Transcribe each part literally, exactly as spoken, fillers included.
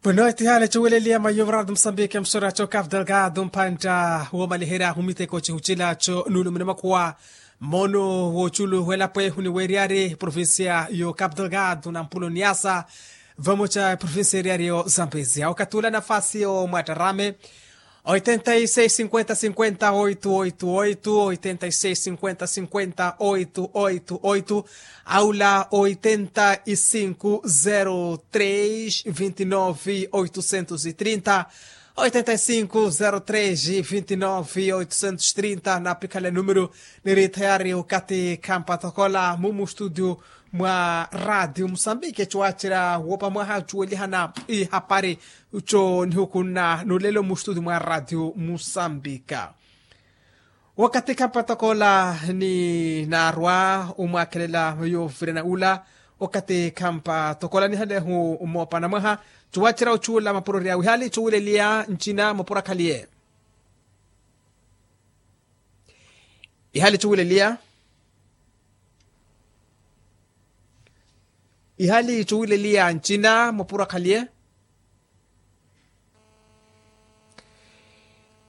Pweno etihaale cuweleliya mayo varato musambike musora co cabo delgado mpantta womaliherya humiteko cihucilaco nulumina makuwa. Mono woculu welapo ehu ni weriyari provincia yo cabo delgado na mpulo niasa vamoca provincia eriyari yo zambezia wakati ula nafasi yo mwatarame. Oitenta e seis cinquenta cinquenta oito oito oito oitenta e seis cinquenta cinquenta oito oito oito. Aula oitenta e cinco zero três vinte e nove oitocentos e trinta. Oitenta e cinco zero três vinte e nove oitocentos e trinta na pikhala numero. Niri thayari okati khampatokola mumu studio mwa radio musambike cuwacira wopa mwaha cuwelihana ihapari. Uco nihukunna nulelo mu studio mwa radio musambika. Wakati khampa tokola ni naarwa umwakhelela yovirana ula. Wakati khampa tokola nihalehu moopana mwaha cuwacira ucuula mapuro ryawe ihali cuwileliya ncina mapuro akhaliye. Ihali cuwileliya ihali cuwileliya ncina mapuro akhaliye.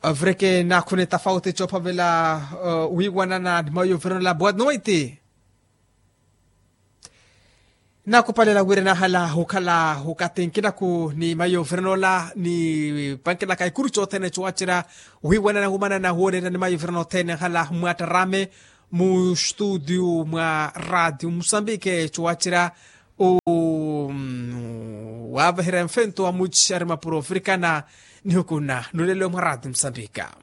Avireke naakhune tafauti coophavela wiiwanana ni mayo viranola boa noiti. Naakupalela wira nahala hukhala hukati nkinaku ni mayo viranola ni pankelaka ikuru cothene cowacerya wiiwanana wumanana wooreerya ni mayo viranola othene hala mwaattarame mu studio mwa radio musambike cowacerya. Waaveherya mfento wa muci ari mapuro ofirikana nihukunna nulelo mwa radio musambika.